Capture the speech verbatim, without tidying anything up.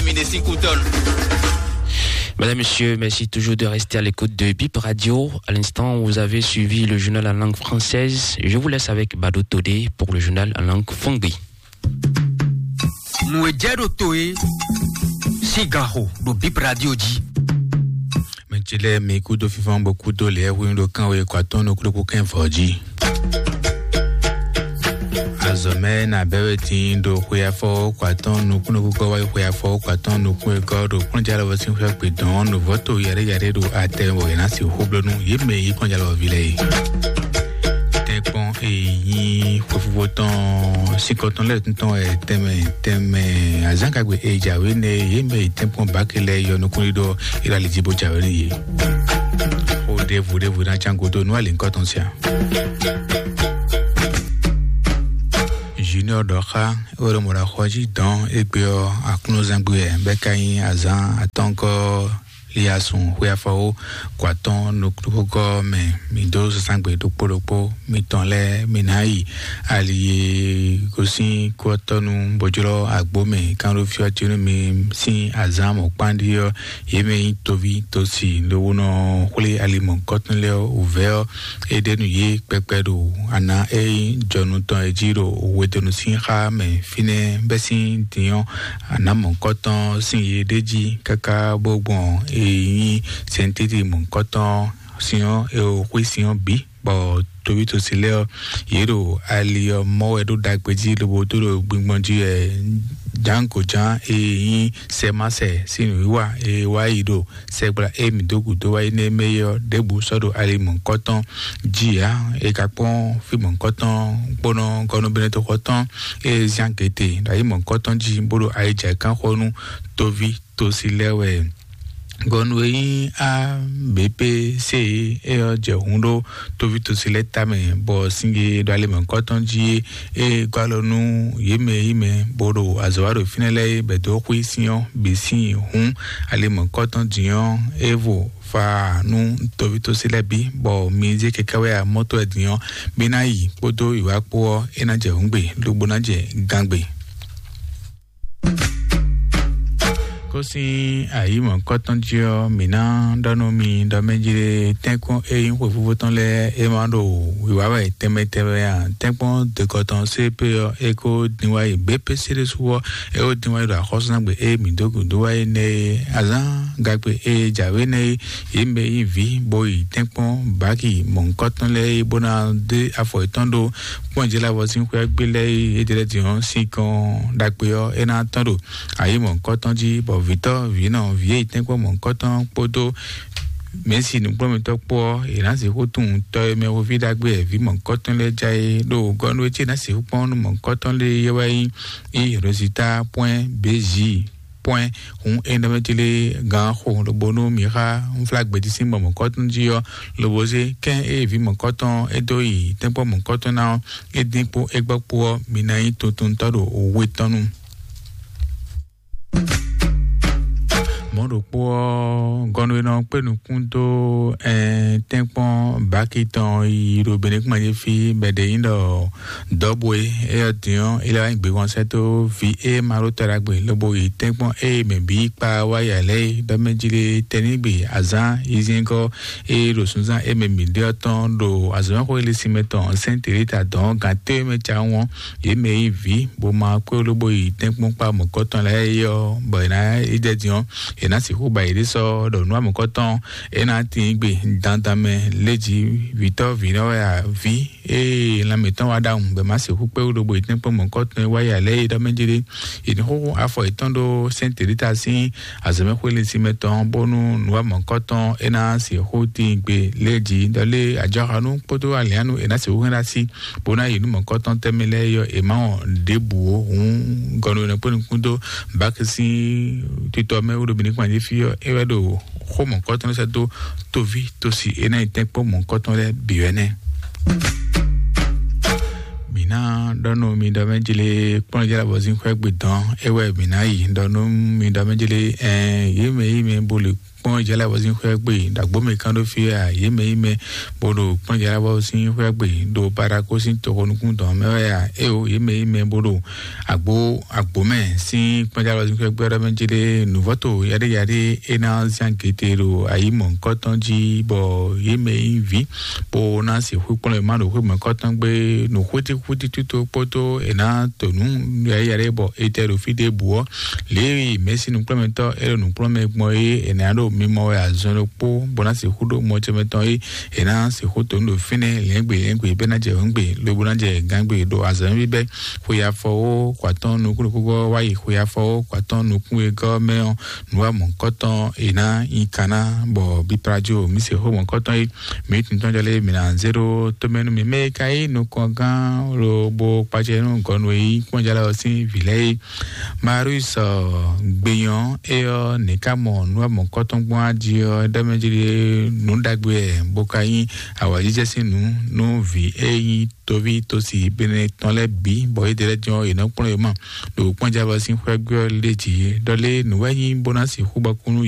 Mesdames, Messieurs, merci toujours de rester à l'écoute de Bip Radio. À l'instant, vous avez suivi le journal en langue française. Je vous laisse avec Bado Todé pour le journal en langue Fongbi. Nǔ e jɛ ɖo to e sín gan xo ɖo Bip Radio jí. Mɛ ce lɛ́ɛ mi kúdó fífɔ́n bó kúdó lěɛ́hwenu ɖo kánwe kɔ atɔ́n nukúnnú kɛ́n vɔ̌ jí. Azɔ̌ mɛ na bɛ́ wɛ dín ɖo xwe afɔ kɔ atɔ́n nukúnnú kɔ wá yi xwe afɔ kɔ atɔ́n nukún e gɔ́ ɖo kplɔ́njalɔwɔ sín xwé gbe dɔn nǔvɔ́ to yaɖé yaɖé ɖo atɛ wɔ è nǎ sixú bló nú yě mɛ e nyí kplɔ́njalɔwɔví lɛ́ɛ é. Tɛ́nkpɔ́n e nyí xwefífó tɔn síkɔ tɔn lɛ́ɛ tɔn wɛ tɛnmɛ tɛnmɛ azǎngagbe e jǎwe nɛ yě mɛ yi tɛ́nkpɔ́n báke lɛ́ɛ yɔ nukúnɖíɖɔ Iráli jí bó jǎwe nú yě. Xó ɖěvo ɖěvo ná cán gúdo nú alǐnkɔ tɔn siá. Junior ɖɔ xá é wɛ ɖo mɔ ɖo axɔ jí dɔn égbé ɔ́ aklúnɔzán gbé wɛ bɛ́ ka nyí azǎn atɔ́ɔ́ngɔ́ Liasun xwe afɔwó kɔ atɔ́n nukúnnú mɛ. Mi dó zazán gbe ɖokpó ɖokpó mitɔn lɛ́ɛ mi ná yi ali e gosín kú ɔ́ tɔ́ nu bó jlɔ́ agbó mɛ kánɖófí ɔ́ jí nú mi sín azǎn mɔ̌kpán ɖíe ɔ́, yě mɛ nyí toví tosi lobo nɔ xwlé ali mɔ̌hunkɔtɔn lɛ́ɛ ɔ́ wǔvɛ́ ɔ́, é ɖe nú yě kpɛkpɛ ɖo ana e nyí jɔnu tɔn e jí ɖo wedonu sín xá mɛ fínɛ́ bɛ́ sín din ɔ́, ana mɔ̌hunkɔtɔn sín yě ɖ'é jí káká bó gbɔn e nyí sɛntíti mɔ̌hunkɔtɔn sin ɔ́, e xwí sin ɔ́ bǐ, bɔ toví tosi lɛ́ɛ ɔ́, yě ɖo ali ɔ́ mɔ wɛ ɖó ɖagbe jí lobo dó ɖo gbingbɔn jí wɛ jǎngojǎn e nyí sɛmánsɛ sín nǔwiwa e wá yi ɖo sɛgbla e mǐ dó gǔdo wá yi nɛ́ mɛ é ɔ́ ɖěbǔ sɔ́ ɖo ali mɔ̌hunkɔtɔn jí ǎ. È ka kpɔ́n fí mɔ̌hunkɔtɔn kpónɔ gɔ́núbɛ́nɛ́toxɔ tɔn e zán gěte ɖo ayi mɔ̌hunkɔtɔn jí bó ɖo ayijǎkánxɔ nú toví tosi lɛ́ɛ wɛ. Gɔnu e nyí A B P C e ɔ́ jɛ hun ɖó toví tosi lɛ́ɛ tamɛ, bɔ singe ɖo ali mɔ̌hunkɔtɔn jí é, é gɔ́ alɔ nú yě mɛ e nyí mɛ bó ɖo azɔ̌ wa ɖo fínɛ́ lɛ́ɛ é bɛ̌ dó xwí sin ɔ́ bǐ sín hǔn ali mɔ̌hunkɔtɔn din ɔ́, é vo fa nú toví tosi lɛ́ɛ bǐ, bɔ mi zé kɛkɛ́ wɛ amɔ́ tɔn wɛ din ɔ́, mi ná yi kpódó wǐwá kpó ɔ́, é ná jɛ hǔngbe, lobo ná jɛ gangbe. Kó sín ayǐ mɔ̌hunkɔtɔn jí ɔ́, mǐ ná ɖɔ nú mi ɖɔ mɛ jí ɖé tɛ́nkpɔ́n e nyí xwefífó tɔn lɛ́ɛ é ma ɖo wǐwá wɛ tɛnmɛ tɛnmɛ ǎ. Tɛ́nkpɔ́n dɔ̌nkɔtɔn C P ɔ́, é kó dín wá yi B P C ɖésú ɔ́, é kó dín wá yi ɖo axɔ́súzángbe e mǐ dó gǔdo wá yi nɛ́ é, azǎn gagbe e jǎwe nɛ́ é, yě mɛ e nyí vǐ bó yi tɛ́nkpɔ́n baki mɔ̌hunkɔtɔn lɛ́ɛ é, bó ná dé afɔ yětɔn ɖó kpɔ́njɛ́lɛ́ avɔ sín xwé ɔ́ gbé lɛ́ɛ é, é jɛ lɛ́ din ɔ́, sinkɔn ɖagbe ɔ́, é ná tɔ́n ɖo ayǐ mɔ̌hunkɔtɔn jí, bɔ vǐtɔ́, vǐnɔ, vǐ e yi tɛ́nkpɔ́n mɔ̌hunkɔtɔn kpódó mɛ̌si nǔkplɔ́nmɛtɔ́ kpó ɔ́, è nǎ sixú tunwun tɔ e mɛ hweví ɖagbe wɛ vǐ mɔ̌hunkɔtɔn lɛ́ɛ ja é ɖo gɔ́ nú é ce ná sixú kpɔ́n nú mɔ̌hunkɔtɔn lɛ́ɛ é wɛ nyí í Rosita pwɛ́n B J pwɛ́n. Hǔn é nɔ mɛ tlé gǎn xo lobo nú mi xá unflágbějí sín mɔ mɔ̌hunkɔtɔn jí ɔ́, lobo zé kɛ́n e vǐ mɔ̌hunkɔtɔn é dó yi tɛ́nkpɔ́n mɔ̌hunkɔtɔn ná ɔ́, é dín kpó é gbɔ kpó ɔ́, mi ná nyí tuntuntɔ́ ɖo we tɔn nu. Mɔ̌ ɖokpó ɔ́, gɔnu e nɔ kpé nukún dó ɛn tɛ́nkpɔ́n baki tɔn yi ɖo Benɛkúmají fí bɔ è ɖe nyí ɖɔ dɔ̌bwe éyɛ́ din ɔ́, é lɛ́ wá nyi gběhɔnsɛ́ dó vǐ e ma ɖó ta ɖagbe lobo yi tɛ́nkpɔ́n ée mɛ bǐ kpa wá yi ǎ lɛ́ɛ é, ɖɔ mɛ jí lé tɛnígbe azǎn yízyɛ́ngɔ́ e ɖo sunnzán e mɛ mǐ ɖe ɔ́ tɔn ɖo azɔ̌mɛxwé linsin mɛ tɔn Sɛ́n Telita dɔn gǎn téwe mɛ cawun ɔ́, yě mɛ e nyí vǐ bó ma kpé lobo yi tɛ́nkpɔ́n kpá mɔ̌kɔtɔn lɛ́ɛ é ɔ́, bɔ è nǎ yi jɛ din ɔ́, è nǎ sixú ba yěɖée sɔ́ ɖɔ nǔ amɔ̌kɔtɔn é ná tín gbe dandan mɛ léjǐ vǐtɔ́ vǐnɔ wɛ ǎ, vǐ ée lan mǐtɔn wá ɖ'awun bɔ è má sixú kpé wú ɖo bo yi tɛ́nkpɔ́n mɔ̌kɔtɔn e wá yi ǎ lɛ́ɛ é ɖɔ mɛ jí ɖé. È nǐ xúxú afɔ yětɔn ɖó Sɛ́n Telita sín azɔ̌mɛxwé linsin mɛ tɔn bónú nǔ wa mɔ̌kɔtɔn é ná sixú tíin gbe lě jí ɖɔ lé ajɔxanú kpódó aliánu è nǎ sixú hɛn ɖó así bó ná yi nú mɔ̌kɔtɔn tɛnmɛ lɛ́ɛ yɔ è má wɔn ɖěbǔ ó. Hǔn gɔnu e nɔ kpé nukún dó Baki sín titɔ mɛ wú ɖo Benin kpan jí fí ɔ́, é wɛ ɖo xó mɔ̌kɔtɔn lɛ́ɛ sɛ́ dó toví tosi é ná yi tɛ́nkpɔ́n mɔ̌kɔtɔn lɛ́ɛ bǐ wɛ nɛ́. Ná ɖɔ nú mi ɖɔ mɛ jele kpɔ́n jala bɔ sín xwɛ gbe dɔn é wɛ mi ná yi ɖɔ nú mi ɖɔ mɛ jele ɛn yé mɛ yé mɛ bó le kpɔ́n jala bɔ sín xwɛ gbe ɖàgbó mɛ kán ɖó fi a yé mɛ yé mɛ bó ɖo kpɔ́n jala bɔ sín xwɛ gbe ɖo parako sín toxo nukún dɔn mɛ wɛ a é o yé mɛ yé mɛ bó ɖo àgbo àgbo mɛ sín kpɔ́n jala bɔ sín xwɛ gbe ɖɔ mɛ jele nǔvɔ́to yaɖé yaɖé é ná zán gete ɖo ayǐ mɔ̌hunkɔtɔn jí bɔ yé mɛ yí vǐ bó ná sixú kplɔ́n yě má ɖo xwé mɔ̌hunkɔtɔn gbe nǔ xwítíxwítí tútó kpódó è nǎ to nǔ yɛ̌yɛ́ ɖé bɔ è tɛ ɖo fí ɖěbǔ ɔ́, Lewi mɛ̌si nǔkplɔ́nmɛtɔ́ é ɖo nǔkplɔ́nmɛ gbɔn é è nǎ ɖo mimɔ wɛ azɔn ɖokpó bó ná sixú ɖó mɔ ce mɛ tɔn é è nǎ sixú to nǔ ɖo fínɛ́ lɛ̌ngbè lɛ̌ngbè bɛ́ ná jɛ hɔ̌ngbe lobo ná jɛ gǎngbe ɖo azɔ̌ bíbɛ́ xwe afɔwó kɔ atɔ́ɔ́n nukún ɖokpógbó wá yi xwe afɔwó kɔ atɔ́ɔ́n nukún wegɔ́ mɛ ɔ́ nǔ wa mɔ̌hunkɔtɔn è nǎ nyi kan ná bɔ biplajo mǐ se xó mɔ̌hunkɔtɔn é mǐ tɔn jɔ lé mǐ ná zé ɖó tómɛ nú mǐ mɛ e ka nyí nukɔngán lobo kpacɛ nú gɔnu e nyí kpɔ́njalá ɔ́ sín vǐ lɛ́ɛ é. Marius gbeyɔn é ɔ́ nǐ ká mɔ nǔ wa mɔ̌hunkɔtɔn gbɔn á jí ɔ́ ɖɔ mɛ jí ɖé nǔ ɖagbe wɛ bó ka nyí awǎjijɛ sín nǔ nú vǐ e nyí toví tosi bene tɔn lɛ́ɛ bǐ bɔ yědɛɛ lɛ́ɛ jɔn yě nɔ kplɔ́n yě ma ɖo kpɔ́njabɔ sín xwɛ́gbɛ́ ɔ́ lé jǐ ɖɔ lé nǔ wɛ nyí bó ná sixú bɔ kú nú